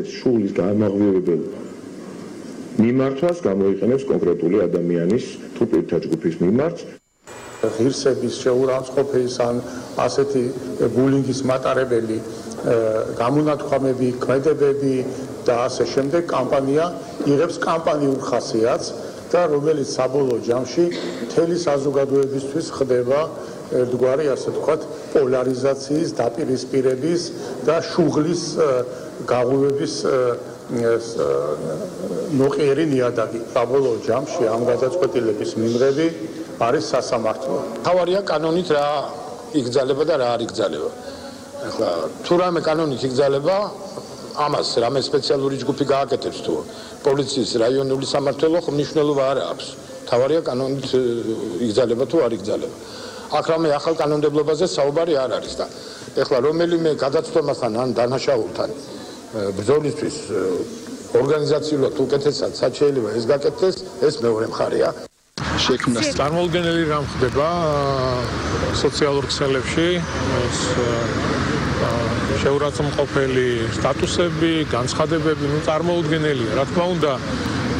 შულის გამაღვივებელ მიმართვას გამოიყენებს კონკრეტული ადამიანის თუ პირთა ჯგუფის მიმართ. ღირსების შეურაცხყოფის ან ასეთი ბულინგის მატარებელი გამონათქვამები, ქმედებები და ასე შემდეგ კამპანია იღებს კამპანიურ ხასიათს და რომელიც საბოლოო ჯამში მთელი საზოგადოებისთვის ხდება ერთგვარი ასე ვთქვათ პოლარიზაციის, დაპირისპირების და შუღლის გაღვივების ნოყიერი ნიადაგი. საბოლოო ჯამში ამ გადაწყვეტილების მიმღები არის სასამართლო. თავარია კანონით რა იგზალება და რა არ იგზალება. ახლა თუ რამე კანონით იგზალება, ამას რამე სპეციალური ჯგუფი გააკეთებს თუ პოლიციის რაიონული სამმართველო მნიშვნელობა არ აქვს. თავარია კანონით იგზალება თუ არ იგზალება. აქ რამე ახალ კანონმდებლობაზე საუბარი არ არის და ეხლა რომელიმე გადაწყვეტასთან ან დანაშაულთან ბრძოლისთვის ორგანიზაციულად უკეთესად რაც შეიძლება ეს გაკეთდეს, ეს მეორე მხარეა. წარმოუდგენელი რამ ხდება სოციალურ ქსელებში, შეურაცხმყოფელი სტატუსები, განცხადებები, წარმოუდგენელია. რა თქმა უნდა,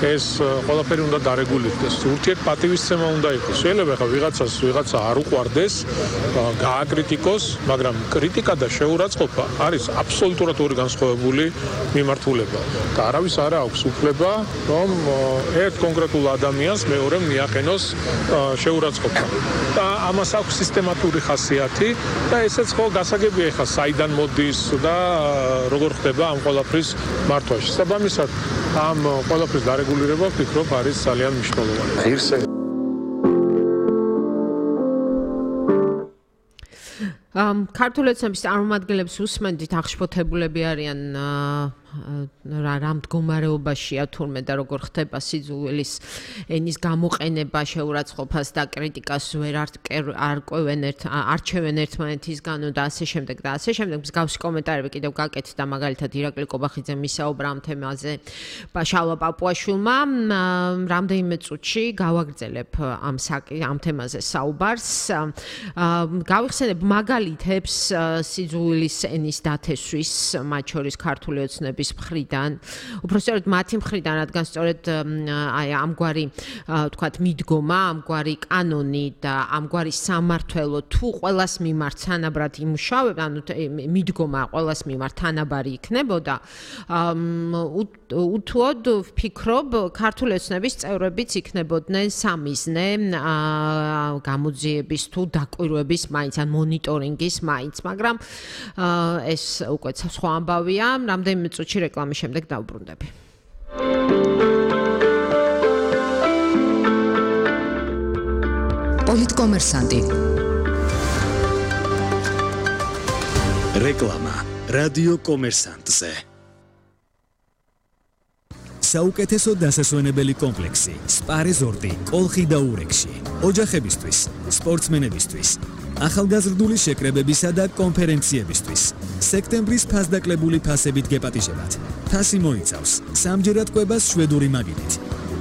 ეს ყველაფერი უნდა დარეგულირდეს. ურთიერთპატივისცემა უნდა იყოს. შეიძლება ხა ვიღაცა არ უყვარდეს, გააკრიტიკოს, მაგრამ კრიტიკა და შეურაცხყოფა არის აბსოლუტურად ორი განსხვავებული მიმართულება. და არავის არ აქვს უფლება, რომ ერთ კონკრეტულ ადამიანს მეორემ მიაყენოს შეურაცხყოფა. და ამას აქვს სისტემატური ხასიათი და ესეც ხო გასაგებია ხა საიდან მოდის და როგორ ხდება ამ ყველაფრის მართვა. შესაბამისად ამ ყველაფრის დარეგულირება ვფიქრობ არის ძალიან მნიშვნელოვანი. ქართული ოცნების წარმომადგენლებს უსმენდით, აღშფოთებულები არიან რა მდგომარეობაშია თურმე და როგორ ხდება სიძულვილის ენის გამოყენება, შეურაცხყოფას და კრიტიკას ვერ არჩევენ ერთმანეთისგანო და ასე შემდეგ და ასე შემდეგ. მსგავსი კომენტარები კიდევ გაკეთდა მაგალითად ირაკლი კობახიძემ ისაუბრა ამ თემაზე შალვა პაპუაშვილმა. რამდენიმე წუთში გავაგრძელებ ამ თემაზე საუბარს. გავიხსენებ მაგალითებს სიძულვილის ენის დათესვის, მათ შორის ქართული ოცნების მხრიდან, უბრალოდ მათი მხრიდან, რადგან სწორედ ამგვარი თქვათ მიდგომა, ამგვარი კანონი და ამგვარი სამმართველო თუ ყველას მიმართ თანაბრად იმუშავებდა, ანუ მიდგომა ყველას მიმართ თანაბარი იქნებოდა, უთუოდ ვფიქრობ, ქართული ოცნების წევრებიც იქნებოდნენ სამიზნე გამოძიების თუ დაკვირვების მაინც ან მონიტორინგის მაინც, მაგრამ ეს უკვე სხვა ამბავია. რამდენიმე წუთში რეკლამის შემდეგ დავბრუნდები. პოლიტკომერსანტი. რეკლამა რადიო კომერსანტზე. საუკეთესო დასასვენებელი კომპლექსი სპა რეზორტი კოლხი და ურეკში. ოჯახებისთვის, სპორტსმენებისთვის, ახალგაზრდული შეკრებებისა და კონფერენციებისთვის. სექტემბრის ფასდაკლებული ფასებით გეპატიჟებათ. ფასი მოიცავს სამჯერად კვებას შვედური მაგიდით.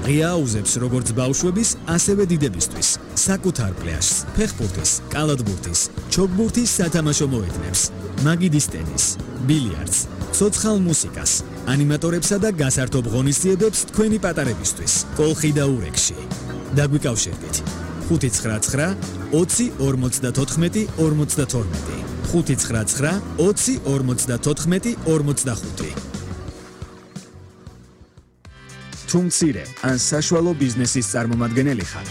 ღია აუზებს როგორც ბავშვების, ასევე დიდებისთვის. საკუთარ პლაჟს, ფეხბურთის, კალათბურთის, ჩოგბურთის სათამაშო მოედნებს. მაგიდის ტენის, ბილიარდს, ცოცხალ მუსიკას, ანიმატორებსა და გასართობ ღონისძიებებს თქვენი პატარებისთვის. კოლხი და ურეკში. დაგვიკავშირდით. 599 20 54 52 599 20 54 45. თუ მცირე ან საშუალო ბიზნესის წარმომადგენელი ხარ,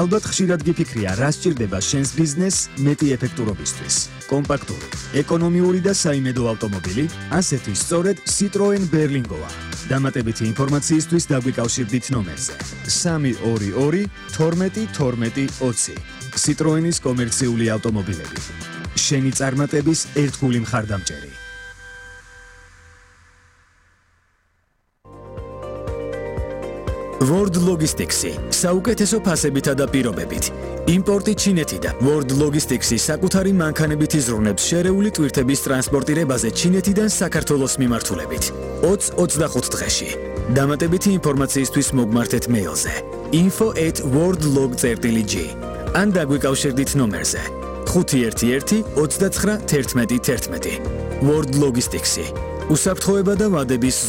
ალბათ ხშირად გიფიქრია, რა სჭირდება შენს ბიზნესს მეტი ეფექტურობისთვის. კომპაქტური, ეკონომიური და საიმედო ავტომობილი, ასეთი სწორედ Citroen Berlingoა. დამატებითი ინფორმაციისთვის დაგვიკავშირდით ნომერზე 322 12 12 20. Citroenis კომერციული ავტომობილები. შენი წარმატების ერთგული მხარდამჭერი. World Logistics-ი საუკეთესო ფასებითა და პირობებით. იმპორტი ჩინეთიდან. World Logistics-ი საკუთარი მანქანებით იზრუნებს შერეული ტვირთების ტრანსპორტირებაზე ჩინეთიდან საქართველოს მიმართულებით. 20-25 დღეში. დამატებითი ინფორმაციისთვის მოგმართეთ მეილზე info@worldlog.gr ან დაგვიკავშირდით ნომერზე 511 29 11 11. World Logistics-ი უსაფრთხოება და ვადების